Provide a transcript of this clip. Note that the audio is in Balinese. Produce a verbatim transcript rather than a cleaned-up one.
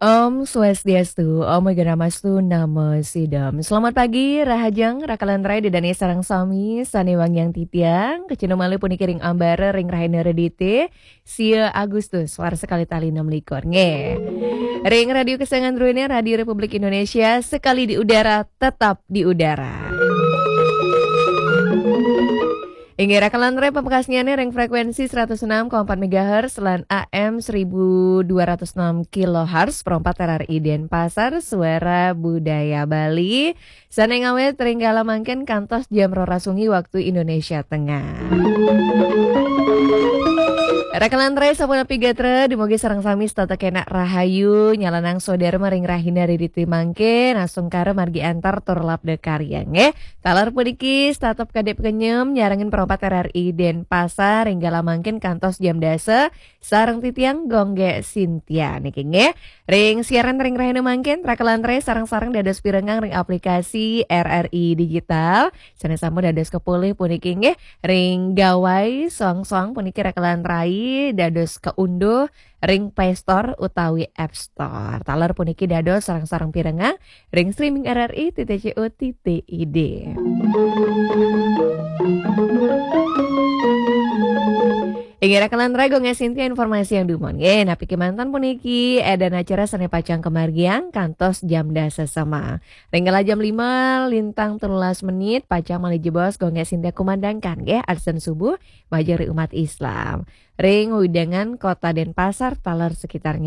Om Swastiastu, Om Awighnamastu Namo Sidham. Selamat pagi, Rahajeng, Rakalan Rai, Ida dané sareng sami, sané wangiang titiang, kacenu malih puniki ring ambara ring rahina Redité, sia Agustus, warsa kalih tali enam likur. Nggih. Ring Radio Kesayangan Druéné, Radio Republik Indonesia, sekali di udara, tetap di udara. Inggih, Rakalan Rai, pamekasnyané ring frekuensi seratus enam koma empat megahertz lan A M seribu dua ratus enam kilohertz, perempat R R I Denpasar, Suara Budaya Bali. Sané ngawit ring kala mangkin kantos jam roras wengi waktu Indonesia Tengah. Rakalan Rai, sapunapi gatra, dumugi sareng sami setata kenak rahayu, nyalanang swadarma ring rahina Redité mangkin, asung kara margi antar tur labda karya, nggih. Taler puniki, tetep kadip kenyem, nyarengin perempat R R I Denpasar, ring kala mangkin kantos jam dasa, sareng titiang Gung Gé Sintia niki, nggih. Ring siaran ring rahina mangkin, Rakalan Rai sareng-sareng dados pirengang ring aplikasi R R I Digital. Sané sampun dados kapolih puniki, nggih. Ring gawai soang-soang puniki Rakalan Rai dados kaunduh ring Play Store utawi App Store. Taler puniki dados sareng-sareng pirengang ring streaming R R I titik C O titik I D. Inggih, Rakalan Rai, Gung Gé Sintia, informasi yang dumun. Nggih, napi kémanten puniki, édan acara sané pacang kamargiang kantos jam dasa sema. Ring kala jam lima lintang telulas menit, pacang malih jebos Gung Gé Sintia kumandangkan, nggih, adzan subuh, majeng ring umat Islam. Ring wewidangan Kota Denpasar, taler sekitarnya.